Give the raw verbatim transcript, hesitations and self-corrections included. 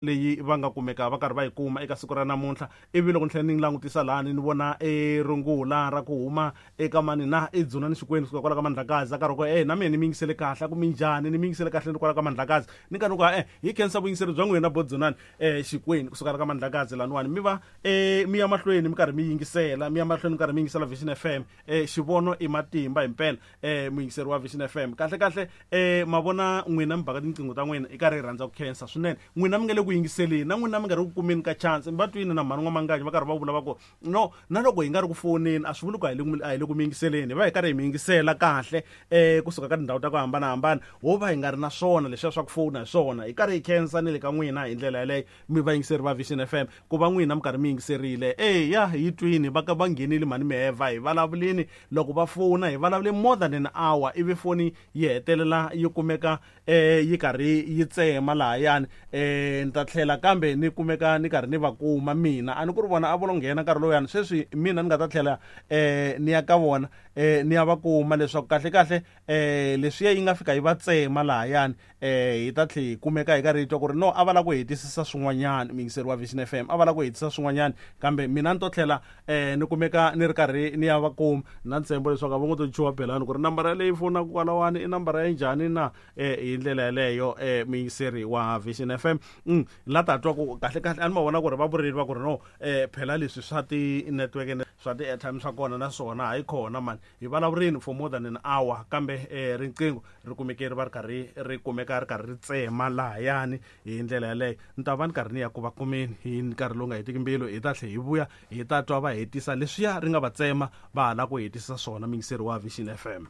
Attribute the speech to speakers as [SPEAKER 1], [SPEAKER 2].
[SPEAKER 1] Leyi va nga kumeka va karhi va yi kuma eka siku ra namuntlha. Ivi loko ni tlhela ni langutisa lahani, ni vona e rungula ra ku huma eka mani na i Dzunani Xikwembu kusuka kwala ka Mandlakazi, a karhi ku e na mina ni mi yingisele kahle, a ku minjhani, ni mi yingisele kahle ni kwala ka Mandlakazi. Ni karhi ni ku e hi khensa vuyingiseri bya n'wina bo Dzunani um Xikwembu kusuka la ka Mandlakazi laniwani. Mi va um mi ya mahlweni mi karhi mi yingisela, mi ya mahlweni mi karhi mi yingisela Vision F M. um xivono i matimba himpela. um muyingiseri wa Vision F M, kahle kahle um ma vona n'wina mi baka tinqingho ta n'wina, i karhi hi rhandza ku khensa swinene n'wina mi nga le ku yingiseleni, na n'wina mi nga ri ku kumeni ka chance. Mi va twini na mhani N'wamanganyi va karhi va vula va ku no, na loko hi nga ri ku foneni a swi vuli ku a hi le a hi le ku mi yingiseleni. Hi va hi karhi hi mi yingisela kahle um kusuka ka tindhawu ta ku hambanahambana, ho va hi nga ri na swona leswiya swa ku fona hi swona. Hi karhi hi khensa ni le ka n'wina hi ndlela yaleyo, mi vayingiseri va Vision F M, ku va n'wina mi karhi mi yingiserile. Eya, hi twini va ka va nghenile mhani Miheva, hi vulavulini loko va fona, hi vulavule more than an hour, ivi foni yi hetelela yi kumeka eh yi karhi yi tsema lahayani. eh ni ta tlhela kambe ni kumeka ni karhi ni va kuma mina, a ni ku ri vona a vo lo nghena nkarhi lowuyani. Sweswi mina ni nga ta tlhela eh ni ya ka vona, eh ni ya va kuma leswaku kahle kahle eh leswiya yi nga fika yi va tsema lahayani. eh hi ta tlhe hi kumeka hi karhi hi twa ku ri no, a va lava ku hetisisa swin'wanyana. Muyingiseri wa Vision F M, a va lava ku hetisisa swin'wanyana, kambe mina ni to tlhela eh ni kumeka ni ri karhi ni ya va kuma na ntshembo leswaku a va ngo to chuha belani ku ri nambara leyi fonaka kwalawani i nambara ya njhani na. eh hi ndlela yaleyo, eh muyingiseri wa Vision F M, mm, la ta twa ku kahle kahle a ni ma vona ku ri va vurile va ku ri no, eh phela leswi swa ti-network, swa ti-airtime swa kona na swona hayi khona mani. Hi vulavurini for more than an hour, kambe eh riqingho ri kumeke ri va ri karhi ri kumeka ri karhi ri tsema lahayani. Hi ndlela yaleyo ni ta va ni karhi ni ya ku va kumeni hi nkarhi lowu nga hetiki mbilu. Hi ta tlhe hi vuya, hi ta twa va hetisa leswiya ri nga va tsema va ha lava ku hetisisa swona, muyingiseri wa Vision F M.